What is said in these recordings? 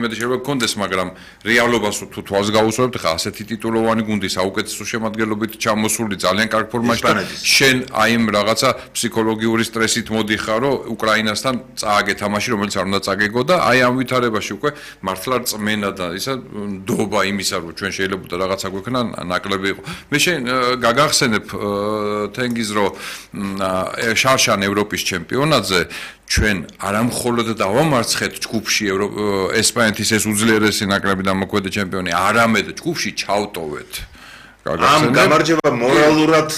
მე შეიძლება გქონდეს, მაგრამ რეალობას თუ თვალს გაუსვამთ, ხა ასეთი ტიტულოვანი გუნდი საუკეთესო შემადგენლობით ჩამოსული ძალიან კარგ ფორმაში და შენ აი იმ რაღაცა ფსიქოლოგიური სტრესით მოდიხარ, რომ უკრაინასთან წააგე თამაში, რომელიც არ უნდა წაგეგო და აი ამ ვითარებაში უკვე მართლა წმენა და ისა ნდობა იმისა, რომ ჩვენ შეიძლება რაღაცა გვექნა ნაკლები იყო. მე შენ გაგახსენებ თენგიზ რომ შარშან ევროპის ჩემპიონატზე ჩვენ არამხოლოდ დავამარცხეთ ჯგუფში ესპანეთის ეს უძლიერესი ნაკრები და მოქმედი ჩემპიონი, არამედ ჯგუფში ჩავტოვეთ. ამ გამარჯვება მორალურად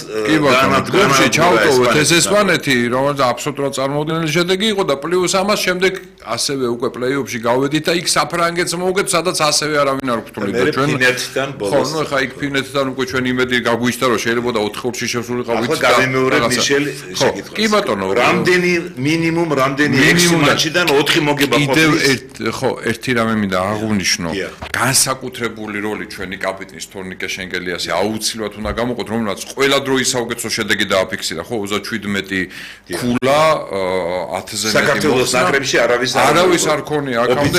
ჯგუფში ჩავტოვეთ ეს ესპანეთი, რომელიც აბსოლუტურად წარმოუდგენელი შედეგი იყო და პლუს ამას შემდეგ ასევე უკვე პლეიოფში გავედით და იქ საფრანგეთს მოვუგეთ, სადაც ასევე არავინ არ გვთვლიდა ჩვენ. ფინეთთან ბოლოს. ხო, ნუ ხა იქ ფინეთთან უკვე ჩვენ იმედი გაგვიჩნდა, რომ შეიძლება 4 ხუთში შესულიყავით და გამემეორებ მიშელ შეკითხვას. კი ბატონო, რამდენი მინიმუმ 6 მატჩიდან 4 მოგება ყოფილის. ხო, ერთი რამე მინდა აღვნიშნო. განსაკუთრებული როლი ჩვენი კაპიტნის თორნიკე შენგელიასი აუცილებლად უნდა გამოყოთ, რომელმაც ყველა დროის საუკეთესო შედეგი დააფიქსირა, ხო, 37 ქულა, 10-ზე მეტი. საქართველოს ნაკრებში არავის არ ქონია აქამდე.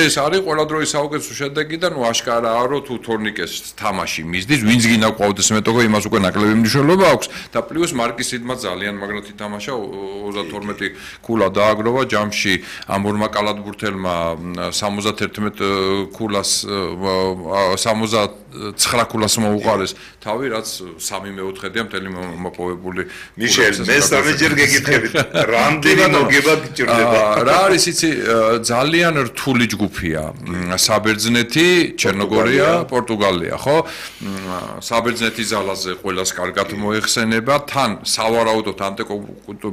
ეს არის ყველა დროის საუკეთესო შედეგი და ნუ აშკარაა, რომ თუ თორნიკეს თამაში მისდის, ვინც გინდა ყავდეს მეტოქო, იმას უკვე ნაკლები მნიშვნელობა აქვს და პლუს მარკის სიდმა ძალიან მაგრად ითამაშა, 32 ქულა დააგროვა ჯამში ამ ორმა კალათბურთელმა 71 ქულას 79 ქულას მოუყარეს თავი, რაც 3/4-ია მთელი მოპოვებული. მიშელ, მესამეჯერ გეკითხებით, რამდენი მოგება გჭირდება? რა არის იცი, ძალიან რთული ჯგუფია. საბერძნეთი, ჩერნოგორია, პორტუგალია, ხო? საბერძნეთის ზალაზე ყველას კარგად მოეხსენება, თან სავარაუდოდ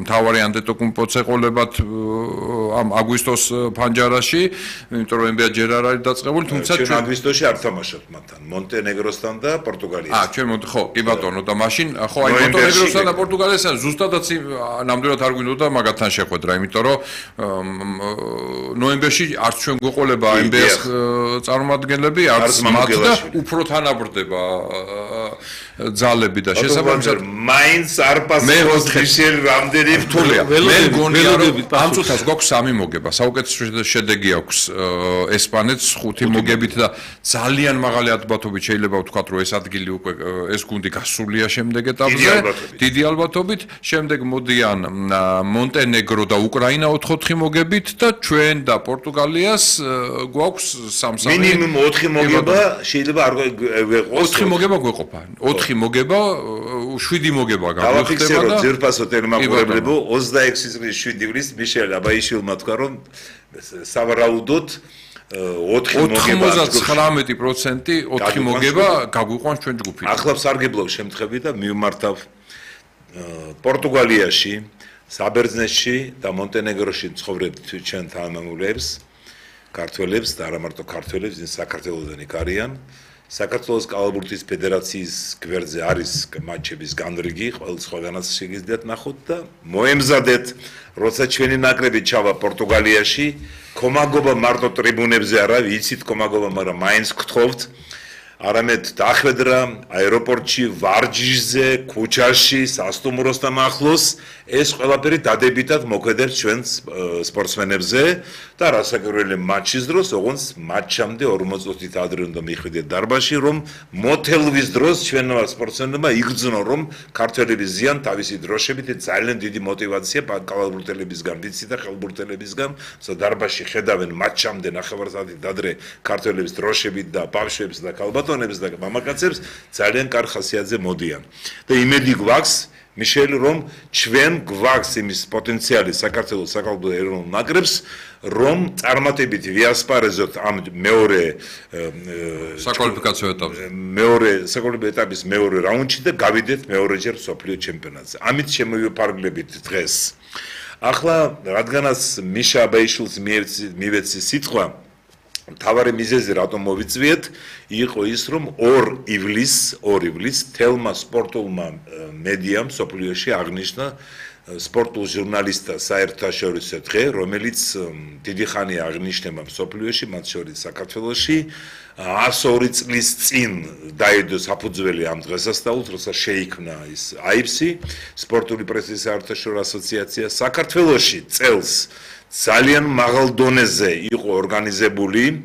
მთავარი ანტეტოკუმპოცეყოლებად ამ აგვისტოს ფანჯარაში, იმიტომ რომ NBA ჯერ არ არის დაწყებული, თუმცა ჩვენ აგვისტოში არ თამაშობთ მათთან, მონტენეგროსთან და პორტუგალიასთან. ჩვენ ხო, კი ბატონო, და მაშინ ხო აი მონტენეგროსთან და პორტუგალიასთან ზუსტადაც ნამდვილად არ გვინდოდა მაგათთან შეხვედრა, იმიტომ რომ ნოემბერში არც ჩვენ გვეყოლება NBA-ს წარმომადგენლები, არც მათ და უფრო თანაბრდება ძალები და შესაბამისად მაინც არ პასუხობს მიშელ რამდენი რთულია. მე მგონია რომ ამ წუთას გვაქვს 3 მოგება, საუკეთესო შედეგი აქვს ესპანეთს 5 მოგებით და ძალიან მაღალი ალბათობით შეიძლება ვთქვათ, რომ ეს ადგილი უკვე ეს გუნდი გასულია შემდეგ ეტაპზე, დიდი ალბათობით. შემდეგ მოდიან მონტენეგრო და უკრაინა 4-4 მოგებით და ჩვენ და პორტუგალიას გვაქვს 3-3. მინიმუმ 4 მოგება შეიძლება არ გვეყოს. 4 მოგება გვეყოფა. 4 მოგება, 7 მოგება გავიხდება და ძირფასო ტელემაყურებლებო 26 წლის 7 ივლისს მიშელ აბაიშვილმა თქვა, რომ სავარაუდოდ 99% 4 მოგება გაგვიყვანს ჩვენ ჯგუფიდან. ახლა სარგებლობ შემთხვევით და მივმართავ პორტუგალიაში, საბერძნეთში და მონტენეგროში ცხოვრებთ ჩვენ თანამემამულეებს, ქართველებს და არა მარტო ქართველებს, ვინც საქართველოსდან იქ არიან. საქართველოს კალათბურთის ფედერაციის გვერდზე არის მატჩების განრიგი, ყოველ სხვაგანაც შეგიძლიათ ნახოთ და მოემზადეთ, როცა ჩვენი ნაკრები ჩავა პორტუგალიაში, კომაგობა მარტო ტრიბუნებზე არა, ვიცით კომაგობა, მაგრამ მაინც გთხოვთ, არამედ დახვედრა აეროპორტში, ვარჯიშზე, ქუჩაში, სასტუმროსთან ახლოს, ეს ყველაფერი დადებითად მოქმედებს ჩვენ სპორტსმენებზე და რასაკვირველია მატჩის დროს, ოღონდ მატჩამდე 40 წუთით ადრე უნდა მიხვიდეთ დარბაზში, რომ მოთელვის დროს ჩვენმა სპორტსმენებმა იგრძნო, რომ ქართველების ზიან თავისი დროშებით ძალიან დიდი мотиваცია კალათბურთელებისგან, ვიცი და ხელბურთელებისგან, დარბაზში ხედავენ მატჩამდე ნახევარსაათით ადრე ქართველების დროშებით და ბავშვებს და ქალბატონებს და მამაკაცებს ძალიან კარგ ხასიათზე მოდიან. და იმედი გვაქვს მიშელ რომ ჩვენ გვაქვს იმის პოტენციალი საქართველოს საკალათბურთო ეროვნულ ნაკრებს, რომ წარმატებით ვიასპარეზოთ ამ მეორე საკვალიფიკაციო ეტაპზე. საკვალიფიკაციო ეტაპის მეორე რაუნდში და გავიდეთ მეორეჯერ მსოფლიო ჩემპიონატზე. ამით შემოვიფარგლებით დღეს. ახლა რადგანაც მიშა აბაიშვილს მივეცი სიტყვა, მთავარი მიზეზი რატომ მოვიწვიეთ, იყო ის, რომ 2 ივლისს თელმა სპორტულმა მედიამ სოფლიოში აღნიშნა სპორტულ ჟურნალისტთა საერთაშორისო დღე, რომელიც დიდი ხანია აღნიშნება სოფლიოში, მათ შორის საქართველოში. 102 წლის წინ დაედო საფუძველი ამ დღესასწაულს, როცა შეიქმნა ის AIPSI, სპორტული პრესის საერთაშორისო ასოციაცია. საქართველოში წელს ძალიან მაღალ დონეზე იყო ორგანიზებული